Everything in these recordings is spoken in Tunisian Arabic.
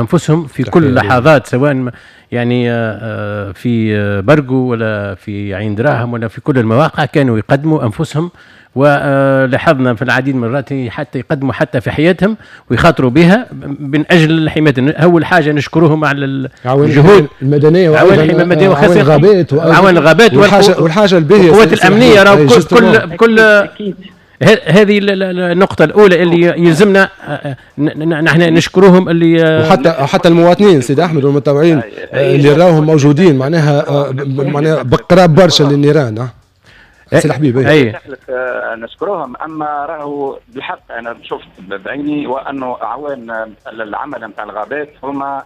بانفسهم في كل اللحظات، سواء يعني في برقو ولا في عين دراهم ولا في كل المواقع، كانوا يقدموا انفسهم، ولاحظنا في العديد من المرات حتى يقدموا حتى في حياتهم ويخاطروا بها من اجل حماية. اول حاجة نشكرهم على الجهود المدنية وعوان الحماية المدنية وعوان الغابات، وعوان الغابات والحاجة الباهيه والقوات الامنيه. راهو كل هذه النقطة الأولى اللي يلزمنا نحن نشكرهم اللي وحتى المواطنين سيد أحمد والمتطوعين اللي راهم موجودين معناها بقراب برشا للنيران. سي الحبيب. اي نشكرهم. اما راهو بالحق انا شفت بعيني وانه اعوان العمل نتاع الغابات هما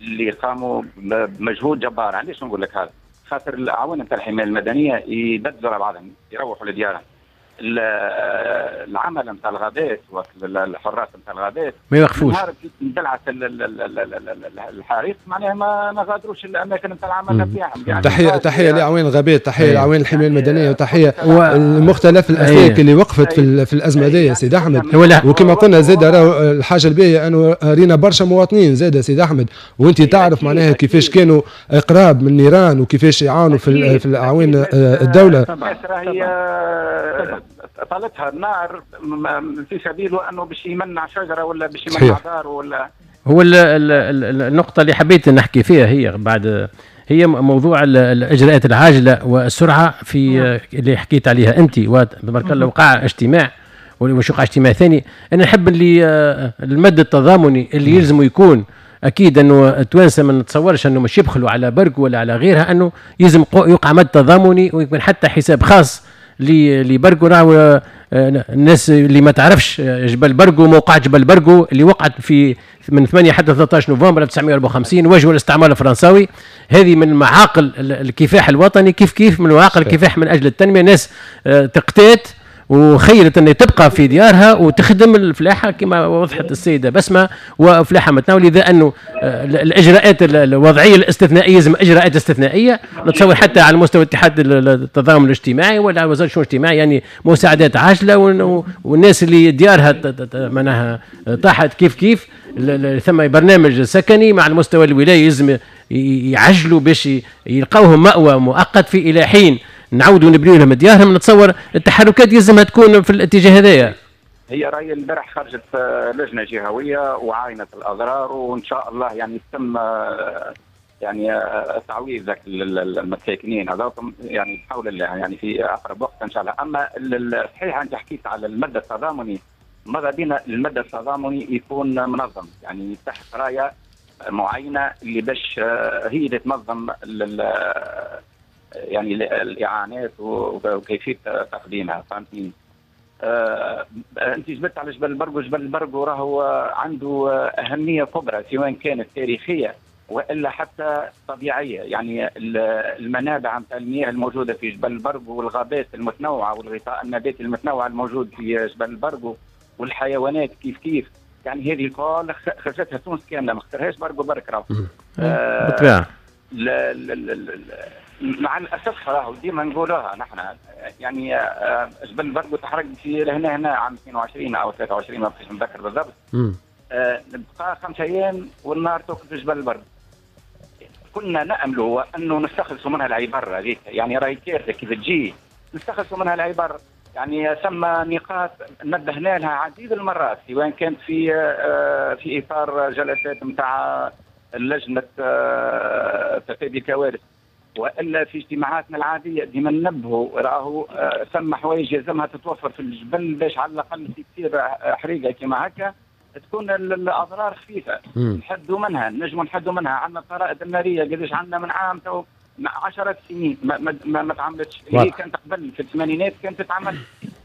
اللي قاموا بمجهود جبار. علاش نقول لك هذا؟ خاطر الاعوان نتاع الحماية المدنية يبدلوا على بعضهم، يروحوا لديارهم. العمل نتاع الغابات والحراس نتاع الغابات ما يوقفوش. اندلعت الحريق معناها ما غادروش الاماكن نتاع العمل نتاعهم. يعني تحية لاعوان الغابات، تحية لاعوان الحماية المدنيه، وتحية لمختلف الاسلاك اللي وقفت في الازمة هذه سيد احمد. وكما قلنا زاد راهو الحاجة الباهيه انه رينا برشا مواطنين زاد سيد احمد، وانت تعرف معناها كيفاش كانوا اقراب من النيران وكيفاش يعاونوا في الاعوان الدوله. طالتها النار في سبيله انه باش يمنع شجرة ولا باش يمنع دار ولا. هو النقطة اللي حبيت نحكي فيها هي بعد، هي موضوع الاجراءات العاجلة والسرعة في اللي حكيت عليها انت، وتبارك الله وقع اجتماع وش وقع اجتماع ثاني. انا نحب اللي المد التضامني اللي يلزم يكون اكيد انه التوانسة ما نتصورش انه مش يبخلوا على برق ولا على غيرها، انه يلزم يوقع مد تضامني ويكون حتى حساب خاص لبرقو. راهو الناس اللي ما تعرفش جبل برقو، موقع جبل برقو اللي وقعت في من 8 حتى 13 نوفمبر 1954 وجهوا الاستعمار الفرنساوي، هذه من معاقل الكفاح الوطني، كيف كيف من معاقل الكفاح من اجل التنميه. ناس تقتات وخيرت ان تبقى في ديارها وتخدم الفلاحة كما وضحت السيدة بسمه، وفلاحه متناول. لذا انه الاجراءات الوضعية الاستثنائية لازم اجراءات استثنائية، نتصور حتى على مستوى اتحاد التضامن الاجتماعي ولا وزارة الشؤون الاجتماعية، يعني مساعدات عاجله، والناس اللي ديارها معناها طاحت كيف كيف ثم برنامج سكني مع المستوى الولاية يلزم يعجلوا باش يلقاوهم مأوى مؤقت في الى حين نعاودوا نبنيو لهم ديارهم. نتصور التحركات يلزمها تكون في الاتجاه هذايا. هي راي البارح خرجت لجنة جهويه وعاينت الاضرار، وان شاء الله يعني تم يعني تعويض ذاك المساكنين هذوكم يعني بحول الله يعني في اقرب وقت ان شاء الله. اما صحيح انت حكيت على المدى التضامني، ماذا بينا المدى التضامني يكون منظم، يعني تحت رايه معينة اللي باش هي اللي تنظم يعني الاعانات وكيفية تقديمها، فهمتني؟ انت جبت على جبل البرقو، جبل البرقو راهو عنده اهمية كبرى سواء كانت تاريخية والا حتى طبيعيه، يعني المنابع نتاع المياه الموجودة في جبل البرقو والغابات المتنوعة والغطاء النباتي المتنوع الموجود في جبل البرقو والحيوانات كيف كيف، يعني هذه الكل خرجتها تونس كاملة، ما خسرهاش برقو برك راهو. بالطبيعة. لا لا لا، مع الاسف راهو ديما نقولوها نحن، يعني جبل البرقو تحرق في هنا هنا عام 22 او 23 ما بقيتش نتذكر بالضبط. بقى 5 ايام والنار توقف في جبل البرقو. كنا نامل انه نستخلصوا منها العبر هذيك، يعني راهي كارثة كيف تجي نستخلصوا منها العبر. يعني ثم نقاط نبهنا لها عديد المرات، سواء كانت في اطار جلسات نتاع لجنة تفادي الكوارث والا في اجتماعاتنا العاديه، ديما ننبهوا راهو ثم حوايج يلزمها تتوفر في الجبل باش على الاقل في تصير حريقة كما هكا تكون الاضرار خفيفه، نحدوا منها، نجموا نحدوا منها. عندنا الطرائد النارية قداش عندنا من عام تو، عشرات سنين ما تعملتش. هي كانت قبل في الثمانينات كانت تتعمل.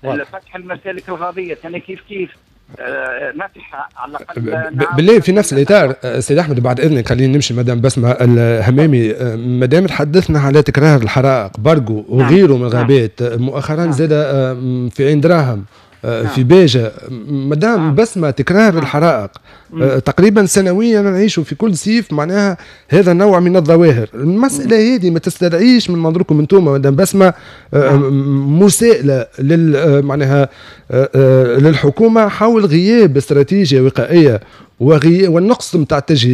فتح المسالك الغابيه كان كيف كيف نفحة على الاقل. بالله في نفس الاطار سيد احمد، بعد اذنك خلينا نمشي مدام بسمه الهمامي. مدام تحدثنا على تكرار الحرائق برقو وغيره من الغابات مؤخرا، زاد في عين دراهم، في باجة. مدام بسمة، تكرار الحرائق تقريبا سنويا نعيش في كل صيف معناها هذا النوع من الظواهر. المسألة هذه ما تستدعيش من منظوركم انتم مدام بسمة مساءلة لل معناها للحكومة حول غياب استراتيجية وقائية والنقص نتاع التجهيزات؟